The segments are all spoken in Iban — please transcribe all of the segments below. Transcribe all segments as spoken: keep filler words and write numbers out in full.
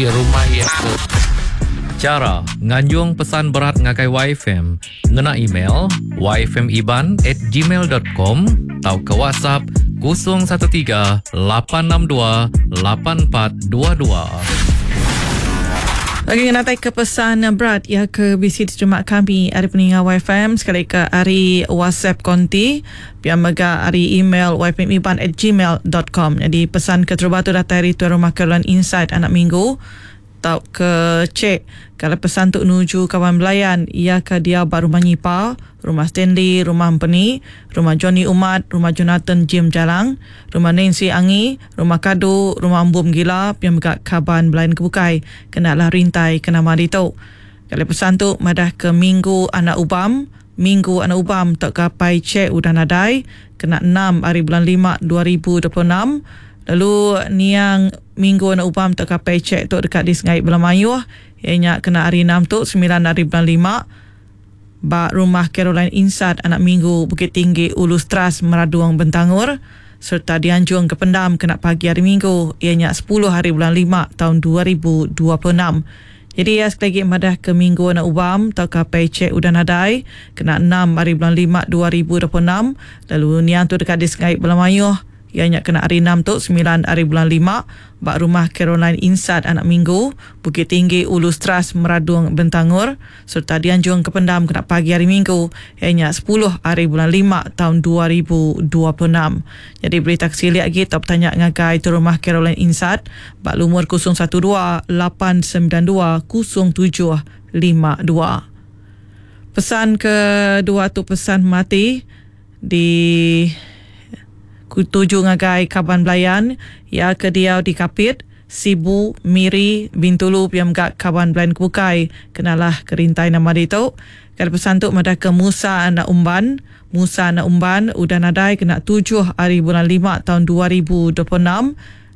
Rumah iya ke. Chara nganjung pesan berat ngagai Y F M ngena email y f m iban at gmail dot com tauka WhatsApp kosong satu tiga lapan enam dua lapan empat dua dua. Lagi ngenatai ke pesan berat ya ke bisi diterima kami ari peninga Y F M sekali ke ari WhatsApp konti pia mega ari email y f m iban at gmail dot com. Jadi pesan ke terubah tu datai ari tuan rumah Caroline Insight anak minggu tau ke cek kalau pesan tu nuju kawan belayan ia ke dia ba rumah Nyipa, rumah Stanley, rumah Empeni, rumah Johnny Umat, rumah Jonathan Jim Jalang, rumah Nancy Angi, rumah Kadu, rumah Embum Gila, pia mega kaban belayan kebukai kena lah rintai kena mari tu. Kalau pesan tu madah ke minggu anak ubam, minggu anak ubam tok kapai cek udah nadai kena enam hari bulan lima dua ribu dua puluh enam. Lalu niang minggu anak ubam tok kapai cek tu dekat di Sengai Belamayuh, ianya kena hari enam tu sembilan hari bulan lima ba rumah Caroline Insat anak minggu Bukit Tinggi Ulu Stras Meraduang Bentangor serta dianjung ke pendam kena pagi hari Minggu ianya sepuluh hari bulan lima tahun dua ribu dua puluh enam. Jadi ya sekali lagi madah ke minggu anak ubam tau kapai cek udah nadai kena enam hari bulan lima dua ribu dua puluh enam. Lalu niang tu dekat di Sengai Belamayuh ianya kena hari enam tu sembilan hari bulan lima ba rumah Caroline Insat anak minggu Bukit Tinggi Ulu Stras Meradung Bentangor serta dianjung ke pendam kena pagi hari Minggu ianya sepuluh hari bulan lima tahun dua ribu dua puluh enam. Jadi berita kesilik lagi top tanya ngagai tu rumah Caroline Insat ba lumur kosong satu dua lapan sembilan dua kosong tujuh lima dua. Pesan kedua tu pesan mati di tuju ngagai kaban belayan ya ke diau di Kapit, Sibu, Miri, Bintulu piam gak kaban belayan kukai kenalah kerintai nama ditu. Kalau pesan tu madah ke Musa anak Umban, Musa anak Umban udah nadai kena tujuh hari bulan lima tahun dua ribu dua puluh enam.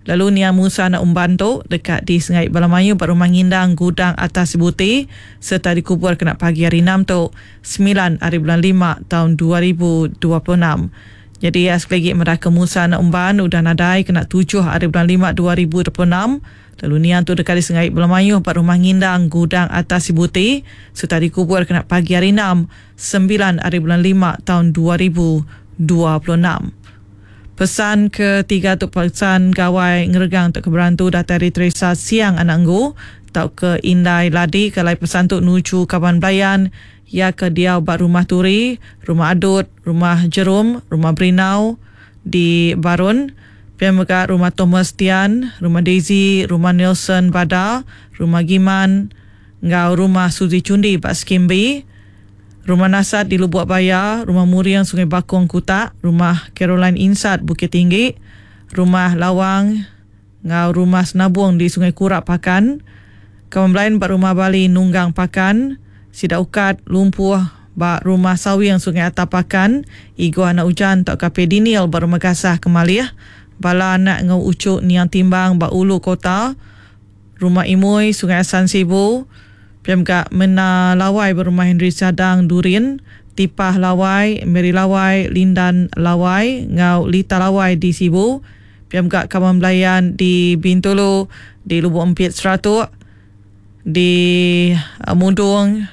Lalu nia Musa anak Umban tu dekat di Sengai Balamayu ba rumah Ngindang Gudang Atas Sibuti serta dikubur kena pagi hari enam tu sembilan hari bulan lima tahun dua ribu dua puluh enam. Jadi ya, sekali lagi mereka Musa anak Umban udah nadai kena tujuh hari bulan lima dua ribu dua puluh enam. Lalu nian tu dekat di Sengai Belamayu empat rumah Ngindang Gudang Atas Sibuti serta dikubur kena pagi hari enam sembilan hari bulan lima tahun dua ribu dua puluh enam. Pesan ketiga tu pesan gawai ngeregang untuk keberantu datai dari Teresa Siang anak Nggu tau ke Indai Ladi kalai pesan tu nuju kaban belayan ya ke diau ba rumah Turi, rumah Adut, rumah Jerum, rumah Berinau di Barun, pia mega rumah Thomas Tian, rumah Daisy, rumah Nelson Bada, rumah Giman, ngau rumah Suzy Cundi ba Skimbi, rumah Nasat di Lubuk Baya, rumah Muriang Sungai Bakong Kutak, rumah Caroline Insat Bukit Tinggi, rumah Lawang, ngau rumah Senabung di Sungai Kurak Pakan, kawan lain ba rumah Bali Nunggang Pakan, Sida Ukat Lumpuh ba rumah Sawing Sungai Atap Pakan, Igo Anak Ujan tok Kape Diniel ba rumah Gasah Kemalih, bala anak ngau ucuk Niang Timbang ba Ulu Kota, rumah Imui Sungai Asan Sibu, piam gak Mena Lawai ba rumah Henry Sadang Durin, Tipah Lawai, Mary Lawai, Lindan Lawai ngau Lita Lawai di Sibu, piam gak kawan belayan di Bintulu, di Lubuk Empit Seratuk, di, uh, Mudung,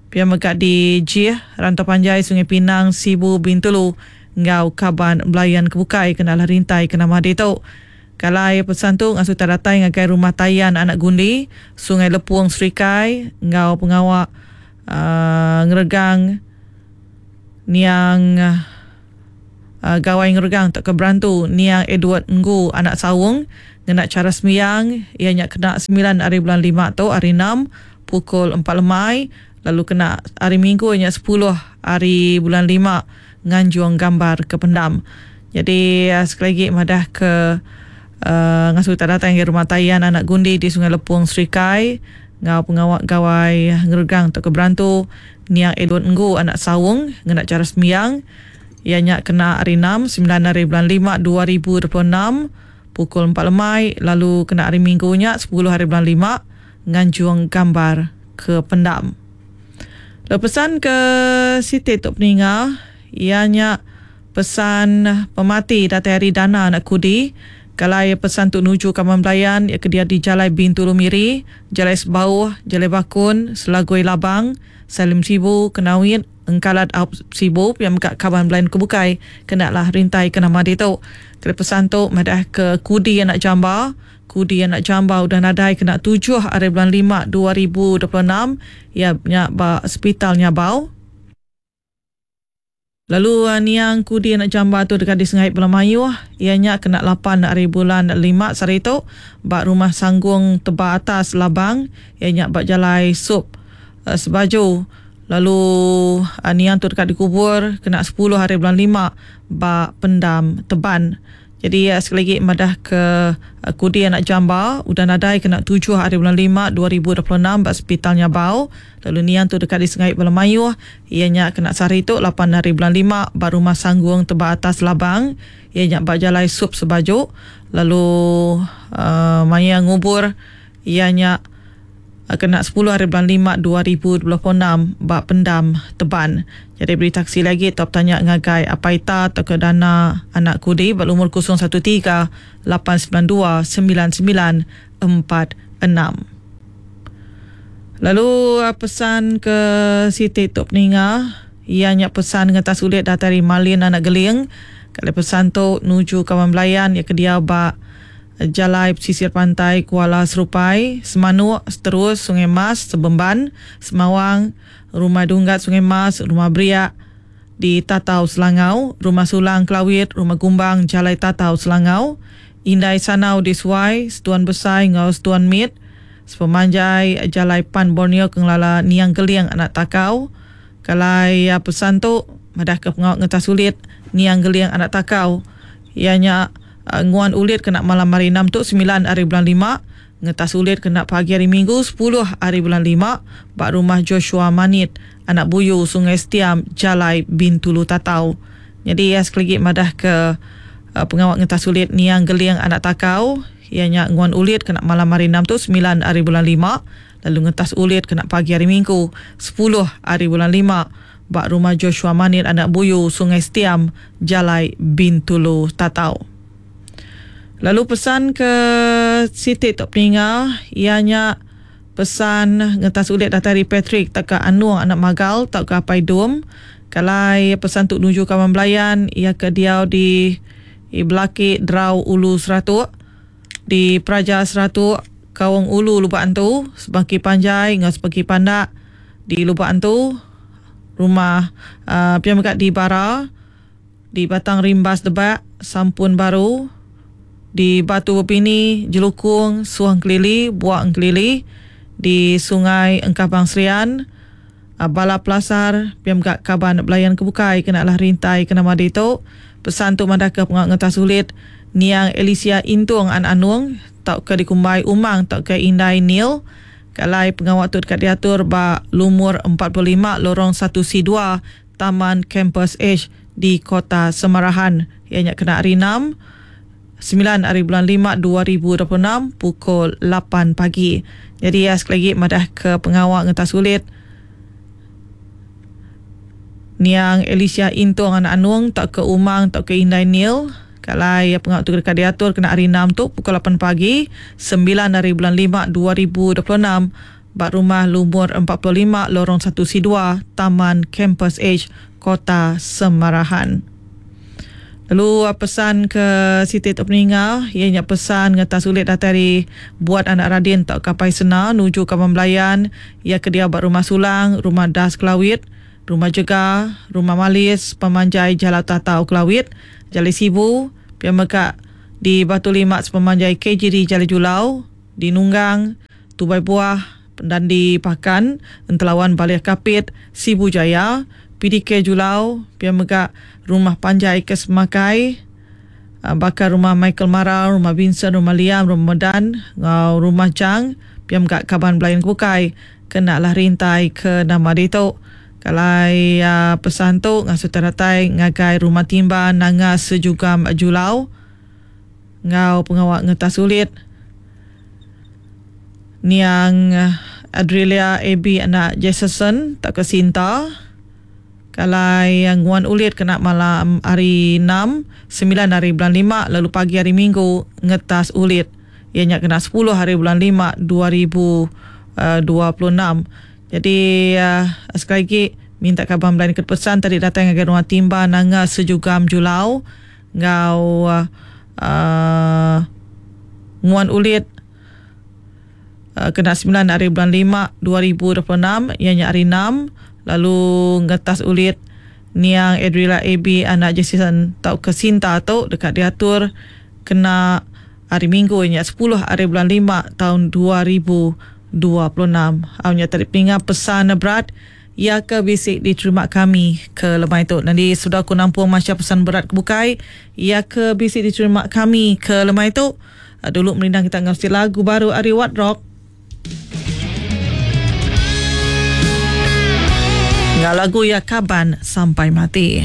piam mega di Jih, Rantau Panjai, Sungai Pinang, Sibu, Bintulu, ngau kaban belayan kebukai kena lah rintai kena madi tu. Kalai pesan tu ngasuh datai ngagai rumah Tayan Anak Gundi, Sungai Lepung Serikai, ngau pengawak, uh, ngeregang niang, uh, gawai ngeregang tak keberantu niang Edward Nggu Anak Sawung ngena cara sembiang ianya kena sembilan hari bulan lima tu hari enam pukul empat lemai. Lalu kena hari Minggu nya sepuluh hari bulan lima nganjung gambar ke pendam. Jadi, uh, sekali lagi madah ke, uh, ngasuh tak datang ke rumah Tayan Anak Gundi di Sungai Lepung Serikai ngau pengawak gawai ngeregang untuk keberantu niang Edward Nggu Anak Sawung ngena cara sembiang ianya kena hari enam sembilan hari bulan lima dua ribu dua puluh enam pukul empat lemai. Lalu kena hari Minggu nya sepuluh hari bulan lima nganjung gambar ke pendam. Lalu pesan ke Siti Tok Peninga ianya pesan pemati datai hari Dana Anak Kudi Kalai pesan tu nuju kaman belayan ya ke dia di Jalai Bintulu Miri, Jalai Sebauh, Jalai Bakun, Selagoi Labang, Salim Sibu, Kenawit, Engkalat Aup Sibu, yang mega kaban belayan kebukai kena lah rintai ke nama ditu. Kena pesan tu madah ke Kudi anak Jamba. Kudi anak Jamba udah nadai kena tujuh hari bulan lima dua ribu dua puluh enam ya nya ba hospital Nyabau. Lalu niang Kudi anak Jamba tu dekat di Sengai Belamayuh, ianya kena lapan hari bulan lima sehari tu ba rumah Sanggung Teba Atas Labang, ianya ba Jalai Sup uh, Sebaju. Lalu uh, niang tu dekat dikubur kena sepuluh hari bulan lima ba Pendam Teban. Jadi uh, sekali lagi madah ke uh, Kudi anak Jamba udah nadai kena tujuh hari bulan lima dua ribu dua puluh enam ba hospital Nyabau. Lalu niang tu dekat di Sengai Belamayuh, ianya kena sehari tu lapan hari bulan lima ba rumah Sanggung Teba Atas Labang, ianya ba Jalai Sup Sebaju. Lalu uh, maya ngubur ianya kena sepuluh hari bulan lima dua ribu dua puluh enam ba Pendam Teban. Jadi beri taksi lagi top tanya ngagai Apaita atau ke dana anak Kudi ba umur kosong satu tiga lapan sembilan dua sembilan sembilan empat enam. Lalu pesan ke Siti Tok Peninga, ianya pesan ngetas ulit datari Malin anak Geling. Kalau pesan tu nuju kawan belayan ya ke dia ba Jalai Pesisir Pantai Kuala Serupai, Semanuk, Seterus, Sungai Mas, Sebemban, Semawang, Rumah Dunggat Sungai Mas, Rumah Beriak di Tatau Selangau, Rumah Sulang Kelawit, Rumah Gumbang Jalai Tatau Selangau, Indai Sanau di Suai, Setuan Besai ngau Setuan Mit, Sepemanjai Jalai Pan Borneo Kengelala Niang Geliang Anak Takau. Kalai pesan tu madah ke pengawak ngetas sulit Niang Geliang Anak Takau, ianya Uh, nguan ulit kena malam hari enam tu sembilan hari bulan lima, ngetas ulit kena pagi hari Minggu sepuluh hari bulan lima bak rumah Joshua Manit anak Buyu Sungai Setiam Jalai Bintulu Tatau. Jadi ya sekali lagi madah ke uh, pengawak ngetas ulit Niang Geliang Anak Takau, ianya nguan ulit kena malam hari enam tu sembilan hari bulan lima, lalu ngetas ulit kena pagi hari Minggu sepuluh hari bulan lima bak rumah Joshua Manit anak Buyu Sungai Setiam Jalai Bintulu Tatau. Lalu pesan ke Siti Tok Peninga, ianya pesan ngetas ulit datari Patrick tak ke Anuang anak Magal tak ke Apai Dum. Kalai pesan tu nuju kawan belayan ia ke diau di Belaki Drau Ulu Seratuk, di Praja Seratuk, Kawang Ulu Lubak Antu, Sebangki Panjai ngau Sebangki Pandak di Lubak Antu, rumah uh, pian megat di Bara, di Batang Rimbas Debak, Sampun Baru, di Batu Bepini, Jelukung, Suang Kelili, Buak Kelili, di Sungai Engkabang Serian, Bala Pelasar, piam gak kaban belayan kebukai kena lah rintai kena madi tu. Pesan tu madah ke pengak ngetas sulit Niang Elisia Intung an Anung tak ke dikumbai Umang tak ke Indai Nil. Kalai pengawak tu dekat diatur ba lumur empat puluh lima lorong satu C dua Taman Campus H di Kota Semarahan. Ianya kena hari enam sembilan hari bulan lima dua ribu dua puluh enam pukul lapan pagi. Jadi ya, sekali lagi madah ke pengawak ngetas sulit Niang Elisia Intung anak Anung tak ke Umang tak ke Indai Nil. Kalai ya, pengawak tu dekat diatur kena hari enam tu pukul lapan pagi sembilan hari bulan lima dua ribu dua puluh enam bak rumah lumur empat puluh lima lorong satu C dua Taman Campus H Kota Semarahan. Lalu pesan ke Siti Tok Peninga, ianya pesan ngetas ulit datari buat anak Radin tak kapai sena nuju kawan belayan ia ke dia bak rumah Sulang, rumah Das Kelawit, rumah Jega, rumah Malis, Pemanjai Jalan Tatau Kelawit, Jalai Sibu, pian mekak di Batu Lima Sepemanjai K J D Jalai Julau, di Nunggang, Tubai Buah, dan di Pakan, Entelawan Baliah Kapit, Sibu Jaya, P D K Julau, pian mekak Rumah Panjai Kesemakai, bakar rumah Michael Marau, rumah Vincent, rumah Liam, rumah Medan, ngau rumah Chang, piam gak kaban belayan kebukai, kena lah rintai ke nama ditu. Kalai uh, pesan tu ngasuh teratai ngagai rumah Timba Nanga Sejugam Julau, ngau pengawak ngetas sulit Niang Adrilia A B anak Jason tak ke Sinta. Kalai nguan ulit kena malam hari enam, semilan hari bulan lima lalu pagi hari Minggu ngetas ulit. Iya nya kena sepuluh hari bulan lima dua ribu dua puluh enam. Jadi uh, sekali lagi minta kaban belayan ke pesan tadi datang ngagai rumah Timba Nanga Sejugam Julau ngau uh, nguan ulit uh, kena sembilan hari bulan lima dua ribu dua puluh enam, iya nya hari enam, lalu ngetas ulit niang Adrila A B anak Jason tau ke Sinta tu dekat diatur kena hari Minggu nya sepuluh hari bulan lima tahun dua ribu dua puluh enam. Au nya tadi pinga pesan berat ia ke bisi diterima kami ke lemai tu. Nanti sudah aku nampung maca pesan berat ke bukai ia ke bisi diterima kami ke lemai tu. Dulu merindang kita ngasi lagu baru ari What Rock. Ngau lagu ya Kaban Sampai Mati.